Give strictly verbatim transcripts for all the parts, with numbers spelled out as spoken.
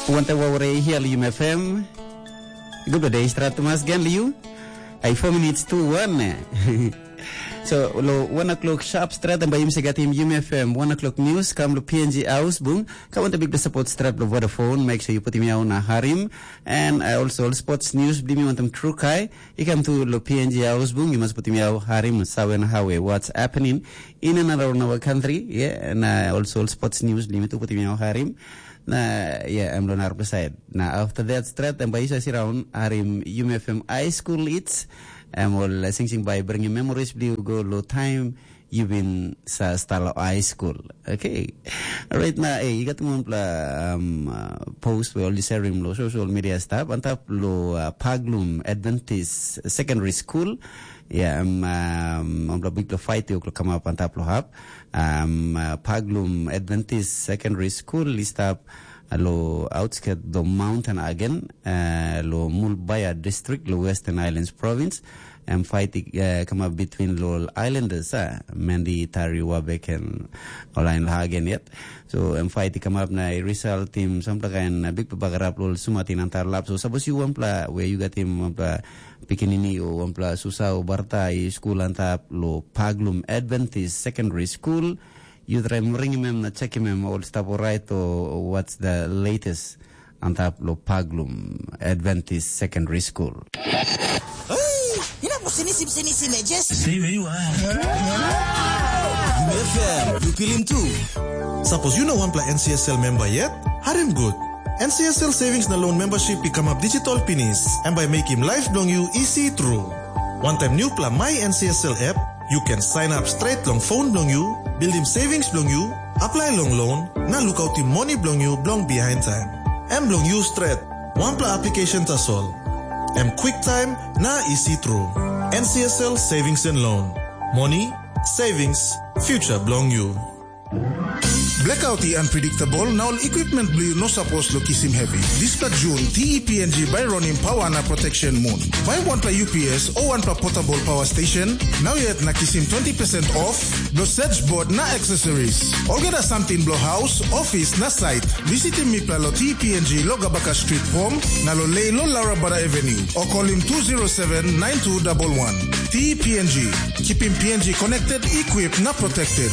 Wanta wawre hia liu mefem. Good day, strat mas gan liu. Ai four minutes to one. So, lo one o'clock sharp strat, and by yum segatim yum F M one o'clock news, kam lo P N G house bung, ka wanta big support strat lo Vodafone, make sure you put him on a harim, and I also all sports news, blimi wantam true kai, you come to lo P N G house bung, you must put him out harim, sawen hawe, what's happening in and around our country, yeah, and uh, also all sports news, blimi tu put him out harim. Na, yeah, em lo narapela side. Na after that, stret em bai isa siraun harim Yumi F M High School Hits. Em ol singsing bai bringim memories bli go lo time you been sa stalo high school. Okay. Right na, eh, you got one pla um, uh, post we all sharing lo social media stuff. Antap lo uh, Paglum Adventist Secondary School. Yeah, um, um, um, big lo fight you come up antap lo hap. Um, uh, Paglum Adventist Secondary School i stap lo outskirt lo mountain again, uh, lo Mulbaya District, lo Western Islands Province, and fight uh, come up between lo Islanders, uh, Mandy Tari Wabek and Olain Hagen yet. So, and fight come up na result team, some kind uh, big bagarap lo sumatin antar lap. So, suppose you one pla where you got him one pla pikinini o wanpela susa o barta i skul antap lo Paglum Adventist Secondary School. Yu trai ringim em na chekim em ol stap orait o what's the latest antap lo Paglum Adventist Secondary School. Hey, you know, sini sim sini sim just. Stay where you are. F M, you feel him too. Suppose you know one pla N C S L member yet? Harim good. N C S L Savings na Loan Membership i kamap digital pinis, em bai mekim life bilong yu isi tru. Wantaim nupela My N C S L app, yu ken sign up straight long phone bilong yu, buildim savings bilong yu, apply long loan, na lukautim moni bilong yu bilong behind time. Em bilong yu stret, wanpela application tasol. Em quick time na isi tru. N C S L Savings and Loan. Money, savings, future bilong yu. Blackout i unpredictable na ol equipment bilong yu no sapos lo kisim heavy. Dispela Jun, T E P N G bai ronim pawa na protection moon. Bai wanpela U P S o wanpela portable power station, nau yet na kisim twenty percent off, lo search board na accessories. Olgeta samting bilong house, office na site. Visitim mipela lo T E P N G lo Gabaka Street Home, na lo Lei lo Laura Bada Avenue, o kolim two zero seven nine two double one. T E P N G, keeping P N G connected, equipped na protected.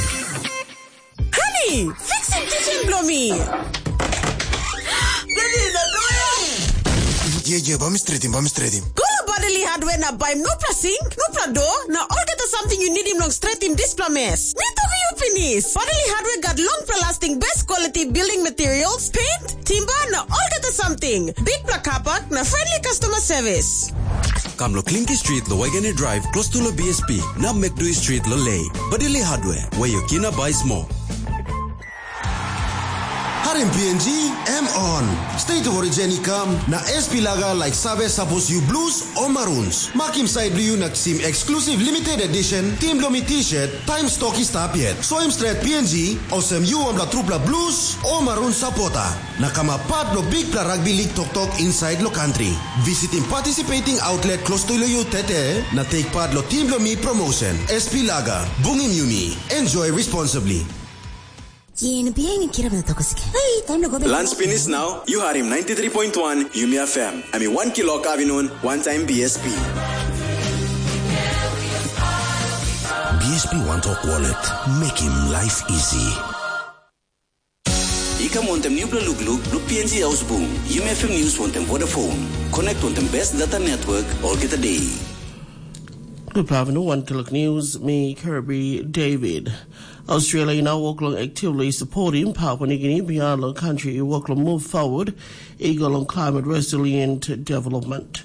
Honey, fixim kitchen bilong mi. Ye, ye, bami stretim, bami stretim. Go to Bodily Hardware na baim nupla sink, nupla door, na olgeta samting you need him long stretim dispela mess. Mi tu you finish. Bodily Hardware got long lasting best quality building materials, paint, timber, na olgeta samting. Big black kapak na friendly customer service. Kam lo Klinki Street lo Waigani Drive, close to lo B S P, na Mekdui Street lo Lei. Bodily Hardware, where your kina buys more. Harim P N G, M on. State of Origin i kam, na S P Laga like save sapos you blues o maroons. Makim side bilong you na kisim exclusive limited edition, team bilong mi t-shirt, time stock i stap yet. Soim stret P N G, olsem you wanpela trupela blues o maroon supporter. Na kamap part lo bikpela rugby league toktok inside lo country. Visitim participating outlet close to lo you tete, na take part lo team lo mi promotion. S P Laga, bungim yumi, enjoy responsibly. Yin bihain kirap na tokos ke. Hey, time lo go back. Lunch finish now, you harim ninety-three point one Yumi F M. Ami one kilo kavinun, one time B S P. B S P One Talk Wallet, making life easy. I kam wantem nupela lukluk bilong P N G Ausbung, Yumi F M News wantem Vodafone. Connect wantem best data network olgeta day. Good afternoon, One O'Clock News, me Kirby David. Australia i nau wok long actively supporting Papua New Guinea beyond long country i wok long move forward i go long climate resilient development.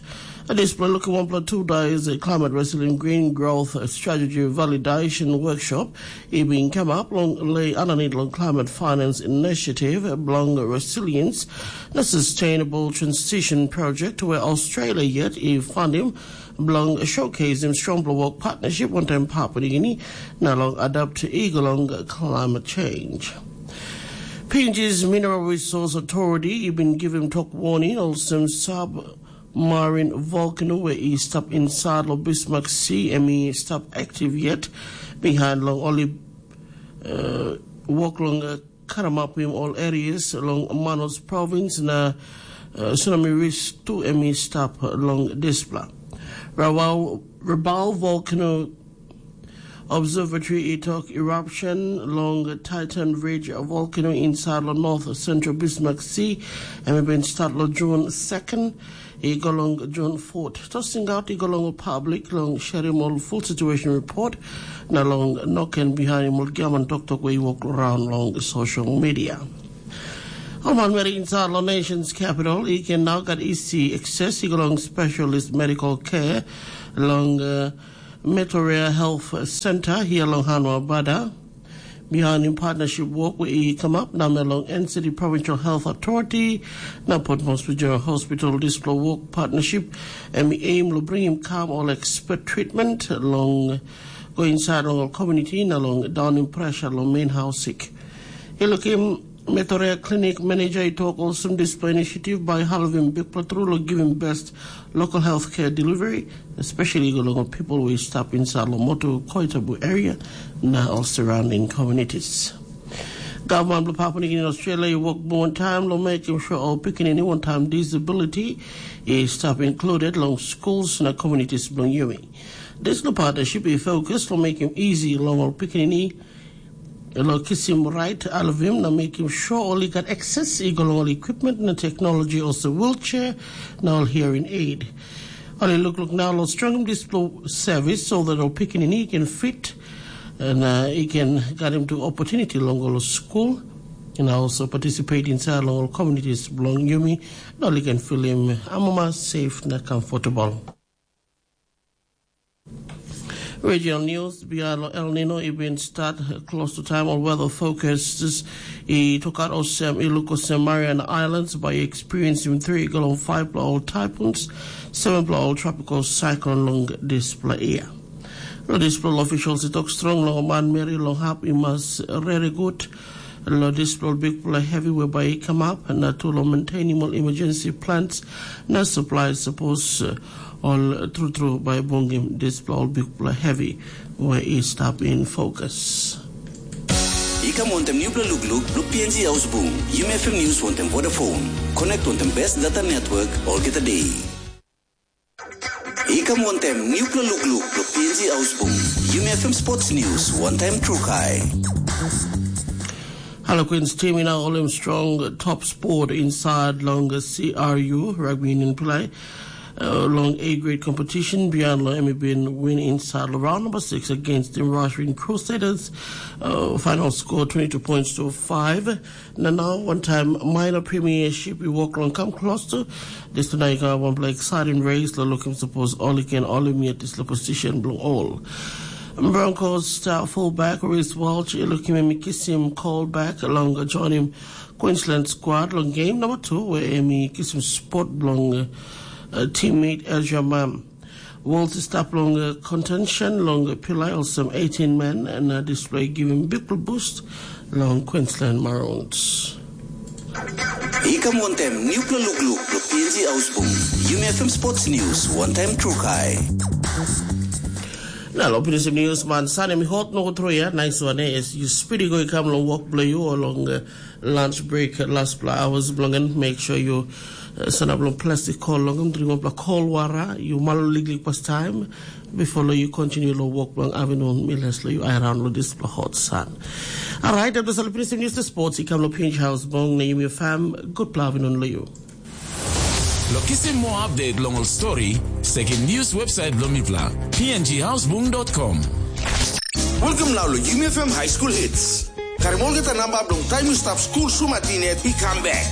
Dispela lukim wanpela two days climate resilient green growth strategy validation workshop i bin kamap long lei aninit long climate finance initiative bilong resilience na sustainable transition project where Australia yet i fundim bilong showcasing strongpela work partnership wantaim Papua New Guinea na long adapt i go long climate change. P N G's Mineral Resource Authority i bin givim tok warning olsem sub marine volcano where i stap inside lo Bismarck Sea em i stap active yet behind long only uh, work long uh, karamapim ol areas long Manus Province na uh, tsunami risk tu em i stap long dispela. Rabaul, Rabaul Volcano Observatory i tok eruption long Titan Ridge volcano inside long North Central Bismarck Sea, em i bin start long June second, i go long June fourth. Tok singaut i go long public long sharing ol full situation report, na long noken behind ol giaman toktok wei i wok around long social media. Ol manmeri inside long nation's capital, i can now got easy access i go long specialist medical care long uh, Metoria Health Center here long Hanwa Bada. Behind in partnership work we i come up na me long N C D Provincial Health Authority na Port Moresby General Hospital. This work partnership and we aim to bring him calm all expert treatment long go inside long community na long down in pressure long main house sick. He look him Metoria Clinic Manager i tok olsem dispela initiative by Halvim Bikpela tru lo giving best local healthcare delivery, especially go long people we stap inside lo Motu Koitabu area na all surrounding communities. Gavman bilong Papua Nugini in Australia i wok bung wantaim long mekim sure ol pikinini wantaim disability i stap included long schools na communities bilong yumi. Dispela partnership i focus long mekim easy long ol pikinini lo kisim rait alvim na mekim sure ol i gat access i go long ol equipment na technology olsem wheelchair na ol hearing aid. Ol i lukluk nau long strongim dispela service so that ol pikinini i can fit na i can gatim tu opportunity long ol school and also participate inside long ol communities belong yumi na ol i can feeling amama safe na comfortable. Regional news, Bialo El Nino i bin start close to time on weather focuses i took out osem i look osem Mariana Islands by experiencing three go long five bla ol typhoons, seven bla ol tropical cyclone long this bla year. Lo dispela officials i tok strong long man meri long hap i mas rere gut. Lo dispela bikpela heavy we bai i kamap na tu long maintaining ol emergency plans na supply suppose uh, ol trutru bai bungim dispela ol bikpela heavy we i stap in focus. I kam wantem nupela lukluk lo P N G Ausbung, Yumi F M News wantem Vodafone. Connect wantem best data network olgeta day. I kam wantem nupela lukluk lo P N G Ausbung, Yumi F M Sports News wantem Trukai. Harlequins team in our Olymp strong top sport inside long C R U rugby union play. Uh, long A grade competition, Bian Lo Emi bin win inside round number six against the Russian Crusaders. Uh, final score twenty-two points to five. Na nau wantaim minor premiership i wok long kam klostu. Dispela i gat wanpela exciting race lo lukim sapos ol i ken ol i miet dispela position bilong ol. Broncos star fullback Reece Walsh i lukim em i kisim call back long joinim Queensland squad long game number two where em i kisim spot bilong uh, teammate Ezra Mam. Walsh i stap long uh, contention long uh, pilai olsem eighteen men and uh, display giving big boost long Queensland Maroons. I kam wantem nupela lukluk lo P N G Ausbung, Yumi F M Sports News wantem Trukai. Na lo pinisim news man sanem i hot no tru ya nice one eh, you speedy go i kam long work bilong you or long uh, lunch break last pla hours bilong en make sure you uh, sanap long plastic call long em dring wanpela call wara you malo liklik pas time before lo you continue lo work bilong afternoon miles lo you around lo this pla hot sun. Alright, that was all the news to sports. You come to Pinch House Bong, Naomi fam. Good pla afternoon lo you. Lo kisim moa update long ol stori, sekim news website bilong mipela, p n g housebung dot com. Welcome now lo Yumi F M High School Hits. Karim olgeta namba bilong taim yu stap skul sumatin yet i kam bek.